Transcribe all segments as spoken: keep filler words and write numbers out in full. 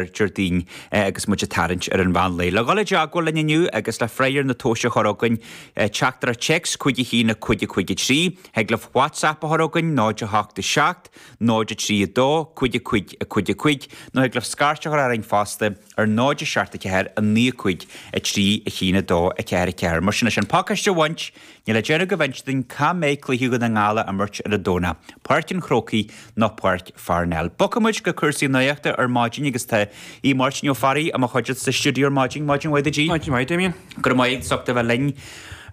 Déardaoin agus muid ag tarraingt ar an mheán lae. Le dhul i dteagmháil linn inniu agus le freagra na tomhaiste a chur chugainn teachtaireacht téacs cúig a haon a cúig a cúig a trí, thig libh WhatsApp a chur chugainn náid a hocht a seacht, náid a trí a dó, cúig a cúig a cúig a cúig, nó thig libh scairt a chur orainn fosta ar náid a seacht a ceathair a naoi a cúig a trí a haon a dó a ceathair a ceathair. Mar sin leis an pacáiste a bhaint, níl le déanamh go bhfeint duinn cá mbeidh cluiche Dhún na nGall á imirt ar an Domhnach, Páirc an Chrócaigh nó Páirc Pharnell. Bogfaidh muid go cúrsaí nuachta ar maidin agus tá Aodh Máirtín Ó Fearraigh i mo chuideachta sa stiúideo ar maidin. Maidin mhaith duit, Aodh. Maidin mhaith, Damien. Go raibh maith agat as ucht a bheith linn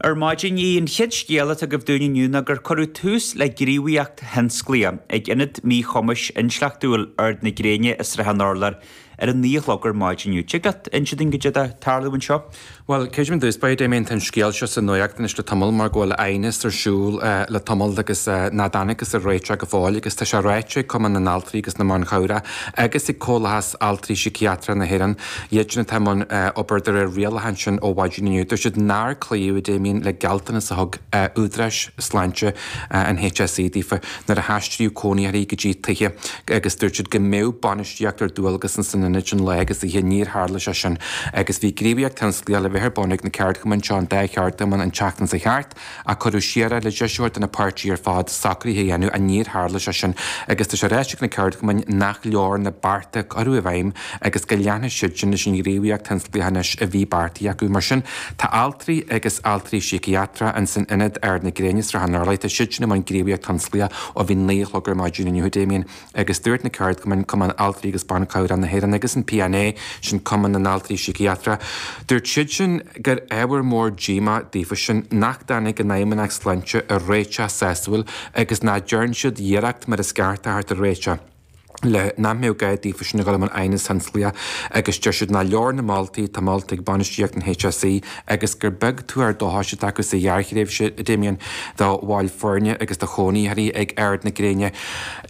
ar maidin. Aodh, an chéad scéal atá agaibh dúinn inniu ná gur cuireadh tús le gníomhaíocht thionsclaíoch ag Ionad Míchumais Intleachtúil Ard na Gréine i Srath an Urláir ar a naoi a chlog ar maidin inniu. Tig leat inse dúinn goidé atá ag tarlú anseo? Bhuel, creidim i dtús báire, Damien, tá an scéal seo sa nuacht anois le tamall mar go bhfuil aighneas ar siúl le tamall agus nach dtángthas ar réiteach go fóill agus tá sé ráite ag Cumann na nAltraí agus na mBan Chabhrach agus ag Comhlachas Altraí Síciatrach na hÉireann, iad sin atá i mbun obair de réir rialachán sin ó mhaidin inniu. Dúirt siad nár cloíodh, Damien, le gealltanas a thug údaráis sláinte an HSE daofa nuair a haistríodh cónaitheoirí go dtí tithe agus dúirt siad go mbeadh bainistíocht ar dualgas ins an ionad sin lá agus oíche. Níor tharla sé sin agus bhí gníomhaíocht thionsclaíoch le bheith ar bun ag na ceardchumainn seo, an dá cheardchumann, an tseachtain seo thart ach cuireadh siar é le deis a thabhairt do na páirtithe ar fad socruithe a dhéanamh ach níor tharla sé sin agus tá sé ráite ag na ceardchumainn nach leor na bearta a cuireadh i bhfeidhm agus go leanfaidh siadsan leis an ghníomhaíocht thionsclaíoch anois a bhí beartaithe acu. Mar sin, tá altraí agus altraí síciatrach ins an ionad Ard na Gréine, Srath an Urláir, tá siadsan i mbun gníomhaíocht thionsclaíoch ó bhí naoi a chlog ar maidin inniu, Damien. Agus dúirt na ceardchumainn, Cumann Altraí agus Ban Cabhrach na hÉireann agus an PNA, sin Cumann na nAltraí Síciatrach, dúirt siadsan gur ábhar mór díomá daofasan nach dtáinig an Fheidhmeannacht Sláinte ar réiteach sásúil agus nach dtearn siad iarracht mar is ceart a theacht ar réiteach le nach mbeadh gá daofasan a dhul i mbun aighneas thionsclaíoch agus deir siad nach leor na moltaí atá molta ag bainistíocht an HSE agus gur beag tuar dóchais atá acu sa ghearrthréimhse, a Damien, do bhaill foirne agus do chónaitheoirí ag Ard na Gréine.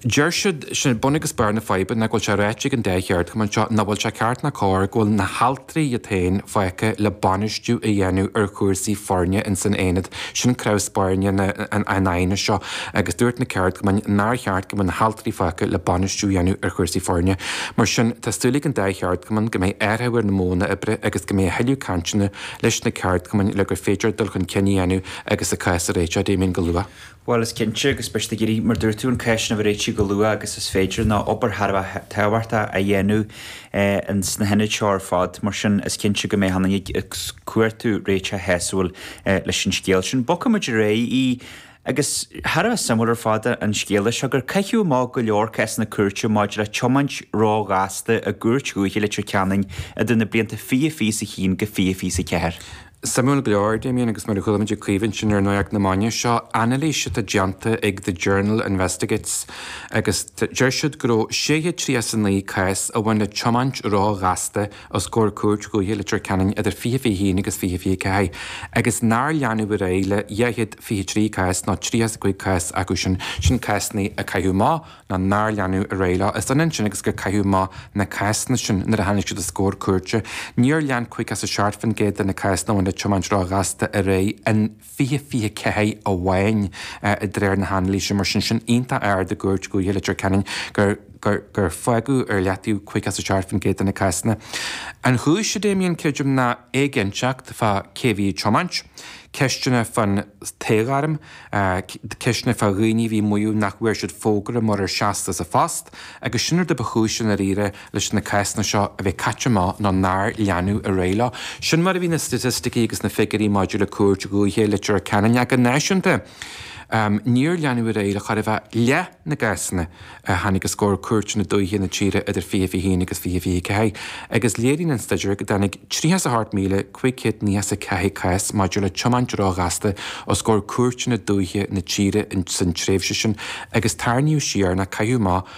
Deir siad, sin bun agus barr na faidhbe, ná go bhfuil sé ráite ag an dá cheardchumann seo nach bhfuil sé ceart ná cóir go bhfuil na haltraí iad féin fágtha le bainistiú a dhéanamh ar chúrsaí foirne ins an aonad. Sin cnamh spairne an aighnis seo agus dúirt na ceardchumainn nár cheart go mbeadh na haltraí fágtha le bainistiú a dhéanamh ar chúrsaí foirne. Mar sin, tá súil ag an dá cheardchumann go mbeidh athrú ar na modhanna oibre agus go mbeidh a thuilleadh cainteanna leis na ceardchumainn le gur féidir dul chun cinn a dhéanamh agus an cás a réiteach, Damien, go luath. Bhuel, is cinnte, agus beidh siad ag iarraidh, mar dúirt tú, an cás sin a réiteach go luath agus is féidir, nó obair thar a bheith tábhachtach a dhéanamh ins na hionaid seo ar fad. Mar sin, is cinnte go mbeidh achan duine ag cuartú réiteach shásúil leis an scéal sin. Bogfaidh muid ar aghaidh, agus thar a bheith suimiúil ar fad an scéal seo, gur caitheadh amach go leor cásanna cúirte maidir le tiomáint róghasta i gCúirt Dhúiche Leitir Ceanainn idir na blianta fiche fiche a haon go fiche fiche a ceathair. Suimiúil go leor, Damien, agus mar a chuala muid ag Caoimhe ansin ar Nuacht na Maidine, seo anailís atá déanta ag The Journal Investigates agus deir siad go raibh sé chéad tríocha a naoi cás a bhain le tiomáint róghasta os comhair Cúirt Dhúiche Leitir Ceanainn idir fiche fiche haon agus fiche fiche ceathair agus nár leanadh ar aghaidh le dhá chéad fiche trí cás nó tríocha a cúig cás acu sin, sin cásanna a caitheadh amach nó nár leanadh ar aghaidh leo. Is ionann sin agus gur caitheadh amach na cásanna sin nuair a tháinig siad os comhair cúirte. Níor lean caoga is a seacht faoin gcéad de na cásanna a bhain le tiomáint róghasta ar aghaidh in fiche fiche ceathair amháin de réir na hanailíse. Mar sin, sin iontach ard i gCúirt Dhúiche Leitir Ceanainn gur gur gur fágadh ar leataobh caoga is a seacht faoin gcéad de na cásanna. An chúis, a Damien, creidim, ná éiginnteacht fá cé a bhí ag tiomáint, ceisteanna fán tsaotharm, ceisteanna fá dhaoine a bhí ag maíomh nach bhfuair siad fógra murar seasadh sa phost, agus sin rud a ba chúis i ndáiríre leis na cásanna seo a bheith caite amach nó nár leanadh ar aghaidh leo. Sin mar a bhí na staitisticí agus na figiúirí maidir le Cúirt Dhúiche Leitir Ceanainn ach go náisiúnta. Níor leanadh ar aghaidh le chóir a bheith leath na gcásanna a tháinig os comhair cúirteanna dúiche na tíre idir fiche fiche haon agus fiche fiche ceathair, agus léiríonn an staidéar go dtáinig tríocha is a hocht míle cúig chéad nócha is a ceathair cás maidir le tiomáint róghasta os comhair cúirteanna dúiche na tíre san tréimhse sin agus tarraingíodh siar nó caitheadh amach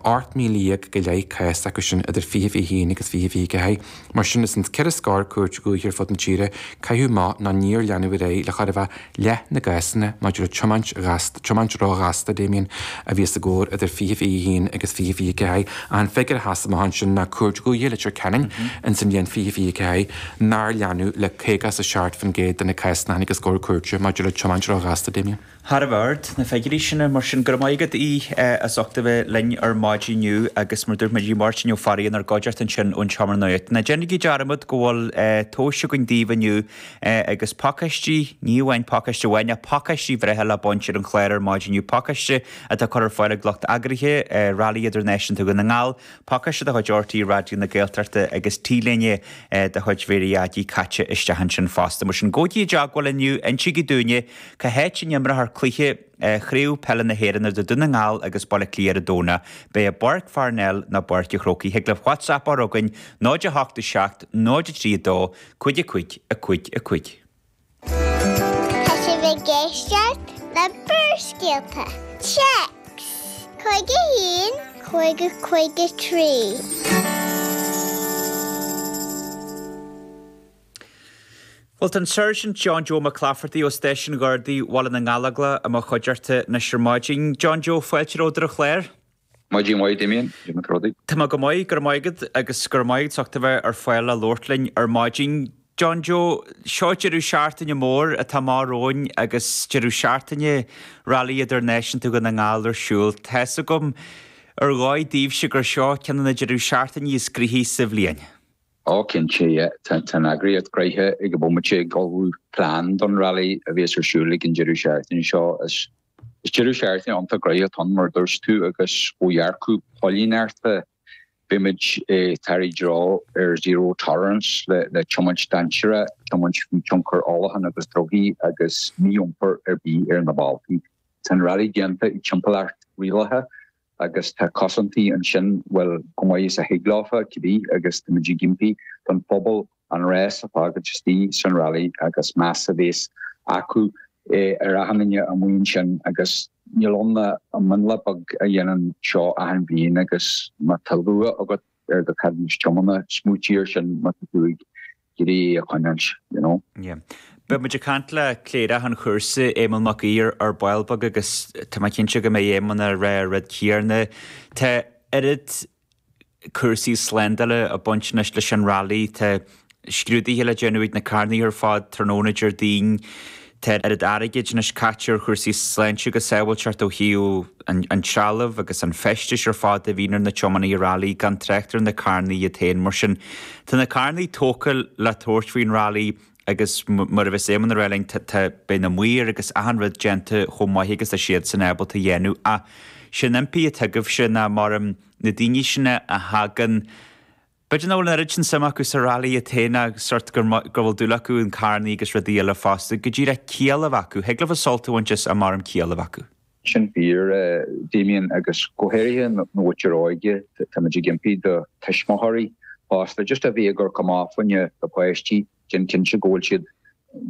ocht míle dhéag go leith cás acu sin idir fiche fiche haon agus fiche fiche ceathair. Mar sin, ins an ceithre scór cúirt dhúiche ar fud na tíre, caitheadh amach nó níor leanadh ar aghaidh le chóir a bheith leath na gcásanna maidir le tiomáint ghasta, tiomáint róghasta, Damien, a bhí os a gcomhair idir fiche fiche haon agus fiche fiche ceathair. An figiúr a sheas amach ansin ná Cúirt Dhúiche Leitir Ceanainn ins an bhliain fiche fiche ceathair nár leanadh le caoga is a seacht faoin gcéad de na cásanna a tháinig os comhair cúirte maidir le tiomáint róghasta, Damien. Thar a bheith ard, na figiúirí sin, mar sin go raibh maith agat, Aodh, as ucht a bheith linn linn ar maidin inniu agus mar dúirt muid Máirtín Ó Fearraigh inár gcuideachta ansin ón Seomra Nuachta. Ná déanaigí dearmad go bhfuil tomhais againn daoibh inniu agus pacáistí, ní amháin pacáiste amháin ach pacáistí breithe le baint ar an chlár ar maidin inniu, pacáiste atá curtha ar fáil ag lucht eagraithe Rally Idirnáisiúnta Dhún na nGall, pacáiste de chuid RTÉ Raidió na Gaeltachta agus T-léine de chuid Mhéirí Dhaidí caite isteach ansin fosta. Mar sin gabhaigí i dteagmháil inniu, insígí dúinne cá háit a n-imreofar cluiche Chraobh Peile na hÉireann idir Dún na nGall agus Baile Átha Cliath ar an Domhnach. Beidh i bPáirc Pharnell nó Páirc an Chrócaigh. Thig libh WhatsApp a chur chugainn náid a hocht a seacht, náid a trí a dó, cúig a cúig, a cúig a cúig. Tá sibh ag éisteacht le Barrscéalta. Téacs cúig a haon, cúig a cúig a trí. Bhuel, tá an Sáirsint John Joe Mac Laifeartaigh ó Stáisiún Ghardaí Bhaile na nGallóglach i mo chuideachta anois ar maidin. John Joe, fáilte romhat ar an chlár. Maidin mhaith, Damien. Cad é mar atá rudaí? Tá mé go maith, go raibh maith agat agus go raibh maith agat as ucht a bheith ar fáil le labhairt linn ar maidin. John Joe, seo deireadh seachtaine mór atá amach romhainn agus deireadh seachtaine Rally Idirnáisiúnta Dhún na nGall ar siúl. Tá's agam ar dhóigh daoibhse gur seo ceann de na deireadh seachtainí is gnoithí sa bhliain. Ó cinnte, yeah. Tá an eagraíocht gnoitheach ag an bhomaite ag ullmhú plean don rally a bheas ar siúl ag an deireadh seachtaine seo. Is deireadh seachtaine iontach gnoitheach atá ann mar a dúirt tú agus ó dhearcadh póilíneachta beimid ag tarraingt treo ar zero tolerance le tiomáint dainséarach, tiomáint faoi thionchar ólacháin agus drugaí agus mí-iompar ar bith ar na bealtaí. Tá an rally déanta i dtimpeallacht rialaithe agus tá cosaintí ansin, bhuel, chomh maith is a thig leofa, cibé, agus táimid ag impí don phobal an rás a fhágaint istigh san rally agus meas a bheas acu ar achan duine amuigh ansin agus níl ann ach mionlach beag a dhéanann seo achan bhliain agus má tá lua agat ar do cheadúnas tiomána, smaoitigh air sin má tá tú ag iarraidh é a choinneáilt, you know. Yeah. Beidh muid ag caint le Cléireach an chúrsa, Éamonn Mac Aoidh, ar ball beag agus tá mé cinnte go mbeidh Éamonn ag rá an rud céanna. Tá oiread cúrsaí slándála ag baint anois leis an rally, tá scrúduithe le déanamh ag na carrannaí ar fad tráthnóna Déardaoin, tá oiread airgid anois caite ar chúrsaí sláinte agus sábháilteacht ó thaobh an trealamh agus an feistis ar fad a bhíonn ar na tiománaithe rally, gan trácht ar na carrannaí iad féin. Mar sin, tá na carrannaí tógtha le tabhairt faoin rally agus mar a bheas Éamonn ag rá linn, tá, beidh na maoir agus achan rud déanta chomh maith agus tá siadsan ábalta a dhéanamh. Ach sé an impí atá agaibhse ná mar na daoine sin a thagann, b'fhéidir nach bhfuil an oiread sin suim acu sa rally iad féin ach sort gur go bhfuil dúil acu in carrannaí agus rudaí eile fosta, go díreach ciall a bheith acu. Thig leofa sult a bhaint as ach maram ciall a bheith acu. Sin fíor, Damien, agus go háirithe na muintir óige, táimid ag impí do tuismitheoirí fosta just a bheith ag amharc amach fá choinne do pháistí, déan cinnte go bhfuil siad,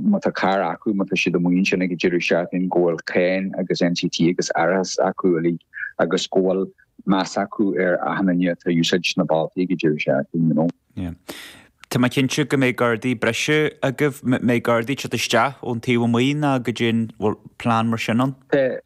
má tá carr acu, má tá siad amuigh ansin ag an deireadh seachtaine, go bhfuil cáin agus NCT agus árachas acu uilig agus go bhfuil meas acu ar achan duine atá ag úsáid na bealtaí ag an deireadh seachtaine, you know. Yeah. Tá mé cinnte go mbeidh gardaí breise agaibh, mbeidh gardaí ag teacht isteach ón taobh amuigh nó goidé an bhfuil plean mar sin ann? Tá,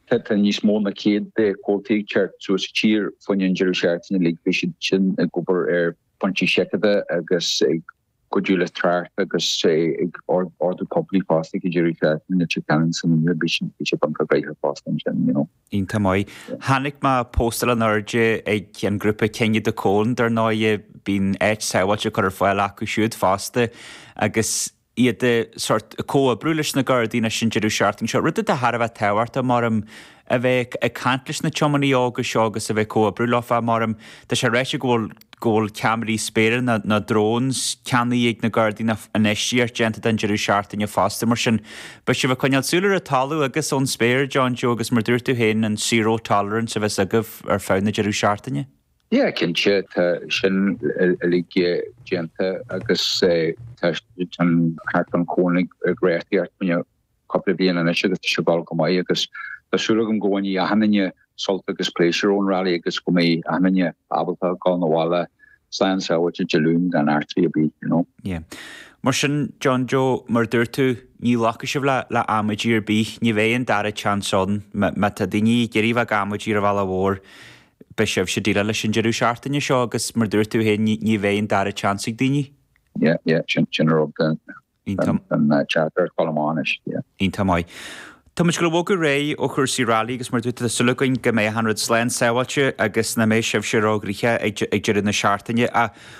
tá, tá níos mó ná céad de chomhaltaí ag teacht suas sa tír fá choinne an deireadh seachtaine uilig, beidh siad sin ag obair ar phointí seiceála agus ag cuidiú le trácht agus ag ordú poiblí fosta ag an deireadh seachtaine Leitir Ceanainn san oíche, bhí sé iontach gnoitheach fosta ansin, you know. Iontach maith. Chonaic mé postáil in airde ag an grúpa King of the Cone, dar ndóigh, bíonn áit sábháilte curtha ar fáil acu siúd fosta agus iad sort comhoibriú leis na Gardaí anois an deireadh seachtaine seo, rud atá thar a bheith tábhachtach maram a bheith ag caint leis na tiománaithe óga seo agus a bheith ag comhoibriú leofa maram tá sé ráite go bhfuil go bhfuil ceamaraí spéire nó nó drones ceannaithe ag na Gardaí nó infheistíocht déanta don deireadh seachtaine fosta mar sin beidh sibh ag coinneáil súil ar an talamh agus ón spéir John Joe agus mar dúirt tú féin an zero tolerance a bheas agaibh ar feadh na deireadh seachtaine. Yeah, cinnte, tá sin uilig déanta agus tá an Heart an Cónaí ag reachtaíocht fá choinne cúpla bliain anois agus tá sé ag dul go maith agus tá súil agam go bhfaighidh achan duine sult agus pléisiúr ón rally agus go mbeidh achan duine ábalta dul 'na bhaile slán sábháilte Dé Luain gan eachtraí ar bith, you know. Yeah. Mar sin, John Joe, mar a dúirt tú, ní ghlacfaidh sibh le le amaidí ar bith, ní bheidh an dara chance ann, má tá daoine ag iarraidh bheith ag amaidí ar an bhealach mhór, Beidh sibhse ag déileáil leis an deireadh seachtaine seo agus mar dúirt tú féin ní bheidh an dara chance ag daoine. Yeah, yeah, sin sin an rud den den teachtaireacht dul amach anois, yeah. Iontach maith. Tá muid ag gabháil a bhogadh ar aghaidh ó chúrsaí rally agus mar dúirt tá súil againn go mbeidh an rud slán sábháilte agus nach mbeidh sibhse róghnoitheach ag deireadh na seachtaine. Ach